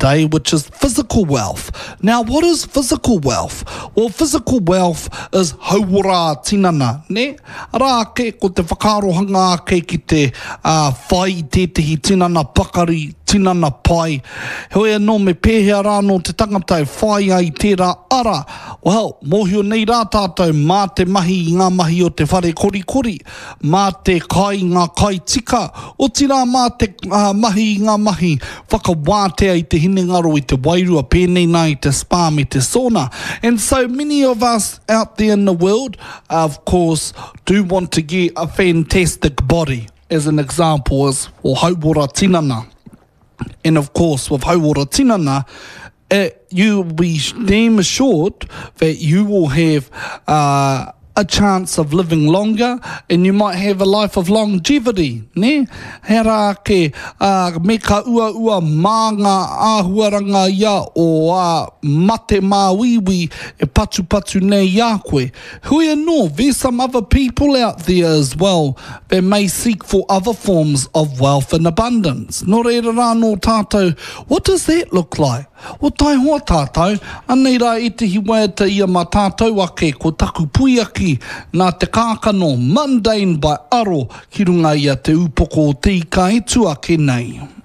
today, which is physical wealth. Now, what is physical wealth? Well, physical wealth is hauora tinana, ne? Arā ake, ko te whakaarohanga ake ki te whai i tētehi tinana pakari, tinana pai. Heoi anō, me pēhea rā anō te tangata e whai ai i tērā ara? Well, mōhio nei rā tātou mā te mahi i ngā mahi o te whare korikori, mā te kai i ngā kai tika, otirā mā te mahi i ngā mahi whakawātea i te hinengaro, i te wairua, pēnei nā i te spa me te sauna. And so many of us out there in the world, of course, do want to get a fantastic body, as an example is for hauora tinana. And of course, with hauora tinana, it, you will be damn assured that you will have uh, a chance of living longer and you might have a life of longevity, ne? He rā ake, uh, me ka uaua mā ngā āhuaranga ia o a mate māuiui e patupatu nei i a koe. Hui anō, there's some other people out there as well that may seek for other forms of wealth and abundance. Nō reira rā nō tātou, what does that look like? O taihoa tātou, anei rā ētehi waiata ia mā tātou ake ko taku puiaki nā Te Kākano, Mundane by Aro ki runga i a Te Ūpoko o Te Ika e tu ake nei.